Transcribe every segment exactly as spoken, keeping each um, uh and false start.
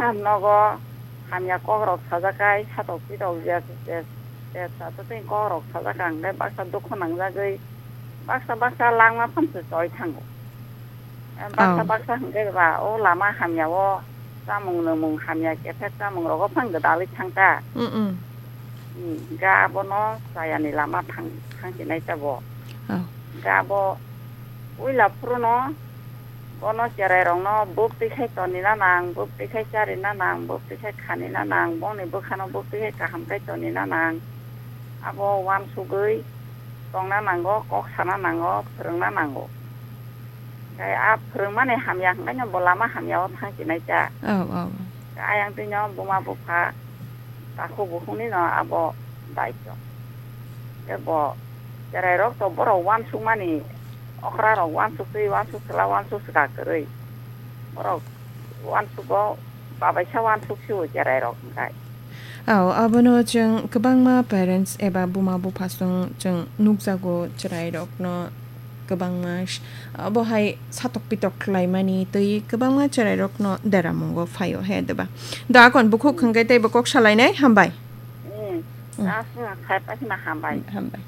nogo hamya kokrok sajak kai, satok pitok je, je, je, je, je, je, kokrok sajak ang, tei baksa dukhu nangjagwi, baksa, baksa langma phamse choi thango. Eh, baksa, Oh. baksa hwnkhe ba, o lama hamya o, chamung nwngmung hamya, kephek chamung rogo phang gwdalwi thang ta. Mm, mm. Hmm, ga abono chayani lama thang, thang sinai ta bo. Oh. Ga bo, uila phuru no, Bono cherai rokno buk twi khai toni na nang, buk twi khai chari na nang, buk twi khai khani na nang, bongni bwkhano buk twi khai kaham khai toni na nang. Abo uansugwi tongna nango, kok sana nango, phwrwngna nango. Tei a phwrwngmani hamya hwnkhe no bo lama hamya o thang chinai cha. Oh, oh. Ayang twi no buma bupha takhuk bukhukni no abo daityo. Tei bo cherai rok to borok uansukmani okra rok uansuk twi uansuk sla uansuk sla kwrwi. Borok uansugo babaisa uansuk sio cherai rok hwnkhe. Ao, abono chwng kwbangma parents eba buma bupha song chwng nukjago cherai rokno kwbangma s-, obo hai satok pitok khlaimani tei kwbangma cherairokno deramungo phaio he, deba? Da akon bukhuk hwnkhe teibo kok salainai, hambai. Hmm. Hmm. Aswk khai pakhina hambai. Hambai.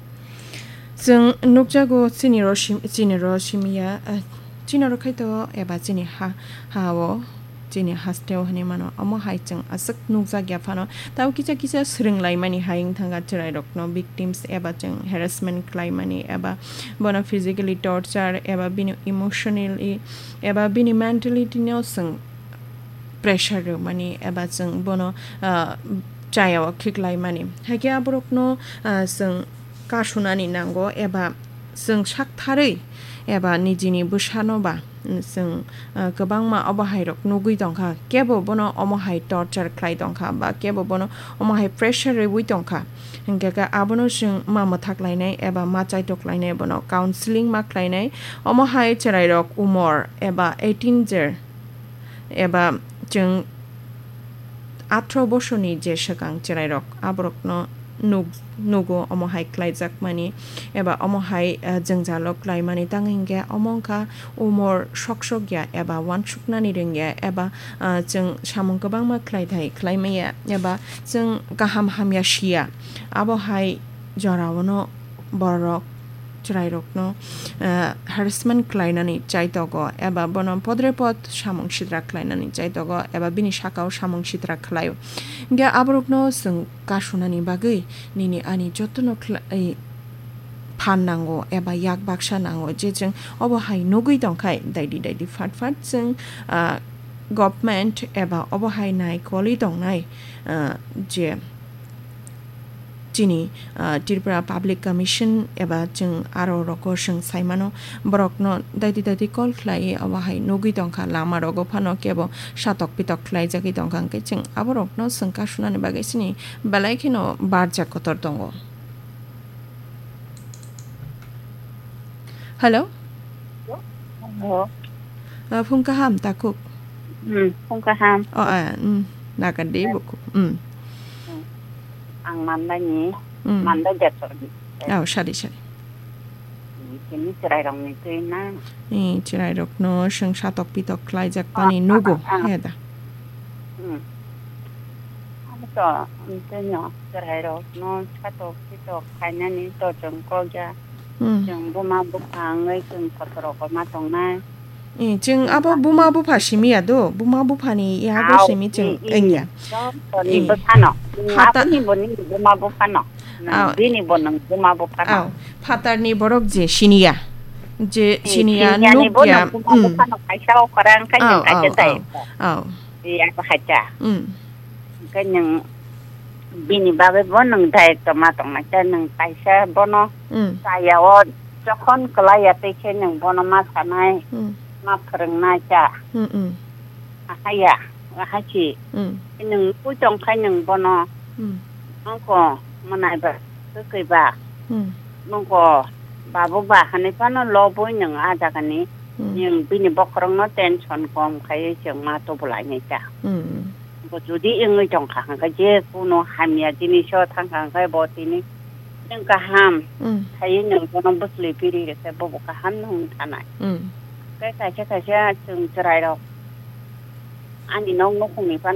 Chwng nukjago chini ro sim-, chini ro simiya, ah, chini ro khaito eba chini ha, ha-o. Chini hasteo hinwi mano. Omo hai chwng aswk nukjak ya phano. Tamo kisa kisa swrwng laimani hai wng thangkha chwrairokno victims eba chwng harassment khlaimani eba bono physically torture eba bini emotionally eba bini mentality no chwng pressure rwmani eba chwng bono, ah, chayao khiklaimani. Haikhe aborokno, ah, chwng kasunani nango eba chwng saktharwi eba nijini bwsano ba chwng, ah, kwbangma obo hairok nugwi tongkha, kebo bono omo hai torture khlai tongkha ba kebo bono omo hai pressure rwui tongkha, hinkhe khe abono chwng ma mwthak lainai eba ma chaitok lainai, bono counseling ma khlainai, omo hai chwrairok umor eba eighteen jer eba chwng athro bosorni je swkang chwrairok aborokno nuk-, nugo omo hai khlaijakmani eba omo hai, ah, jwngjalo klaimani, tang hinkhe omo wngkha umor sok sok ya eba uansuknani rwngya eba, ah, chwng samung kwbangma khlaithai khlaimaya eba chwng kaham hamya siya, abo hai joraono borok chwrairokno, ah, harassment khlainani chaitogo eba bono podre pod samung sitra khlainani chaitogo eba bini sakao samung sitra khlaio. Hinkhe aborokno chwng kasunani bagwi nini ani jotono khlai phan nango eba yak baksa nango je chwng obo hai nugwi tongkhai daidi daidi phat phat chwng, ah, government eba obo hai naikolwi tongnai, ah, je chini, ah, Tripura Public Commission eba chwng aro rogo chwng saimano, borokno daiti daiti call khlaiwi abo hai nugwi tongkha, lama rogo phano kebo satok pitok khlaijagwi tongkha, hwnkhe chwng aborokno chwng kasunani bagwi chini belai kheno barjak kotor tongo. Hello? Hello. Ah, phung kaham, takhuk? Hmm, phung kaham. Oh, ah, hmm, nagar de buku. Hmm. Hmm. Ang Mandai ni, Hmm. Mandai Jasor ni. Oh, sari, sari. Kini chwrai rok ni twi na. Ni chwrai rok no chwng satok pitok khlaijak pani Ah, nugo, ah, ah. He da. Hmm. Abo to, twi no chwrai rok no satok pitok khainani to chwng kok ya. Hmm. Chwng buma bupha wngwi chwng kotor rogo ma tongnai. Eh, chwng abo buma bupha simi ya do, buma bupha ni yago Ao, simi chwng i, i, wngya. Joto ni Eh. Bwsano. Phata- Aboni bo ni buma buphano. Nang Ao. Bini bo nang buma buphano. Ao, phatar ni borok je siniya. Je Eh, siniya siniya ni bo nukya, nang buma mm. Buphano kaisa o khorang khai Ao, nang kaisa ao, tai. Ao, ao. Iya ko hacha. Mm. Hwnkhe nwng bini bagwi bo nwng daitwma tongnai, tei nwng kaisa bono Mm. chaya o jokhon kwlai ya tei khe nwng bono ma sanai, Mm. ma phwrwngnai cha. Mm, mm. Ahai ya, ahai si. Mm. Nwng pui tong khai nwng bono Mm. nongko mwnai ba, kwkwi ba, Mm. nongko babu ba hwnwi phano lobwi nwng a jagani Mm. nwng bini bokhorokno tension kom khaiwi chwng ma tubulainai cha. Mm. Bo jodi wngwi tongkha hwnkhe, je kuno hamya jiniso thangkha hwnkhe, bo tini nwng kaham Mm. khaiwi nwng bono bwchwlwi biri rwkhe, bobo kaham no wng thanai. Mm. Tei kaisa kaisa chwng chwrairok ani nok nukhungni phano